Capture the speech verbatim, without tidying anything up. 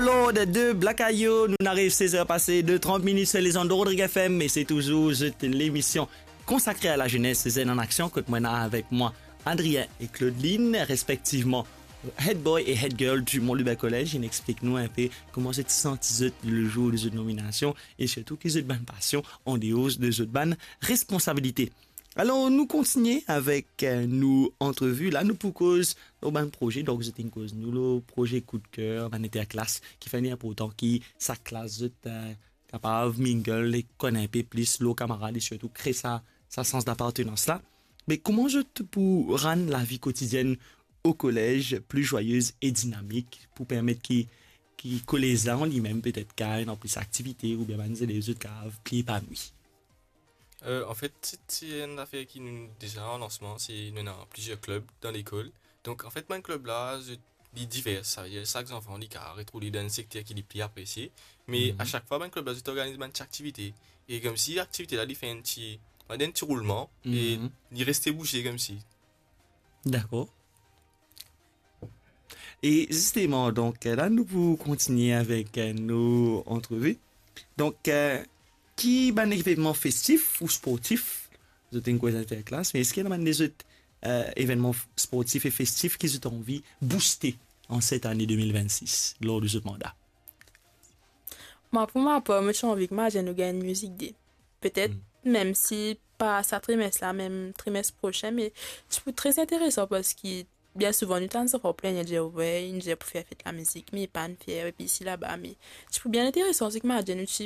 Lord de Black Ayo, nou ariv sez er pase de trant minit sur les ondes de Rodrigue F M, e se touzour zot lemision konsakre a lazenes, Zenn an Aksion, kot mwa ena avek mwa Adrien e Claudeline, respektivman head boy e head girl du Mont Lubin Collège. Inn explik nou inpe kouma zot ti santi zot lezour de zot nominasion e sirtou ki zot bann pasion andeor de zot bann responsabilite. Alor, nou kontigne avek, eh, nou antrevi. La, nou pou koz lor bann proze. Donk, zot inn koz nou lor proze koudker, bann interklas, ki fer li inportan ki sa klas zot, eh, kapav mingle e konn inpe plis lor kamarad e sirtou kre sa, sa sans dapartenans la. Me kouma zot pou rann lavi kotidienn o kolez pli zwayez e dinamik pou permet ki, ki kolez la an limem petet kapav ena plis aktivite oubien bann zelev zot kapav pli epanoui? Euh, anfet, se, se enn zafer ki nou deza an lansman, se nou ena plizier klib dan lekol. Donk, anfet, bann klib la, zot, li diver, savedir sak zanfan, li kapav retrouv li dan enn sekter ki li pli apresie. Me Mhm. a sak fwa, bann klib la, zot organiz bann ti aktivite. E koumsi aktivite la, li fer enn ti, enn ti roulman, e Mhm. li reste bouze koumsi. Dakor. E zisteman, donk, la, nou pou kontigne avek, eh, nou antrevi. Donk, eh, ki bann evenman festif ou sportif, zot inn koz interklas, me eski ena bann lezot, eh, evenman f-, sportif e festif ki zot anvi bouste an set ane de mil vennsis, lor de zot manda? Mwa, pou ma par, mo ti anvi ki Madjenn nou gagn Music Day. Petet, Hmm. mem si pa sa trimes la, mem trimes prosin, me ti pou tre interesan, parski bien souvan nou tann zanfan plin, dir, "Wi, nou dir pou fer fet lamizik, me pa nou fer, epi isi laba," me ti pou bien interesan si ki Madjenn nou ti